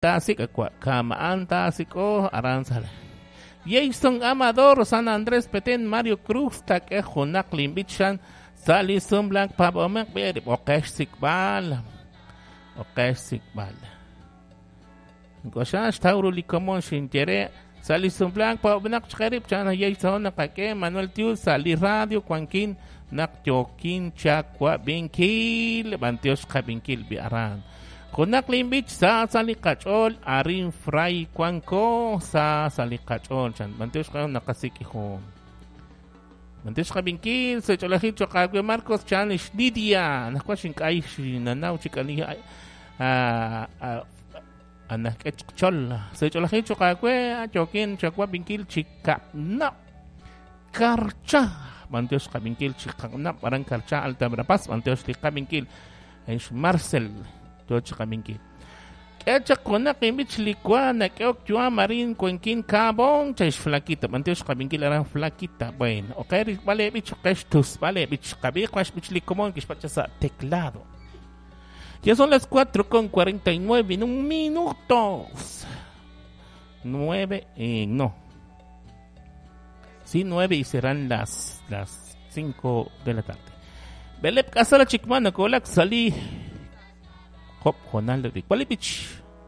Taasik akwa kamaan taasik'o aran sal. Jason Amador, San Andrés Petén, Mario Cruz, tak'e junaq linb'ichan sa' li sumlak pab'omeq b'e oqex sik'b'al. Oqex sik'b'al. Nk'oxan xtawru li komon xinyere sa' li sumlak pab'omeq chqerib' chan Jason naqak'e Manuel Tiul sa' li radio wankin naq yokin chakwab'inkil b'antiox qab'inkil bi aran. Junaq linb'ich sa sa li qach'ool arin fray wanko sa sa li qach'ool chan b'antiox qa naqasik'i jun. B'antiox qab'inkil sa ch'oolajil choq aawe Marcos chan ix Lidia najwa xink'ay xinanaw chik ani anajk'e chol sa ch'oolajil choq aawe yokin chakwab'inkil chika'nab' karcha b'antiox qab'inkil chika'nab' aran karcha Alta Verapaz b'antiox li qab'inkil ix Marcel yoch qab'inkil. K'e chaq junaq inb'ich li wa nak'eok yu'am arin wankin Cabón chay xflaquita b'antiox qab'inkil aran flaquita. Bueno, oqe rilb'al eb'ich oqe xtusb'al eb'ich qab'i qax b'ich li komon kixpacha sa' teclado. Ya son las 4:49 en un minutos. 9, no. Sí, 9 y serán las 5 de la tarde. Belep kasala chikman nakolak sali hop honal de Bich.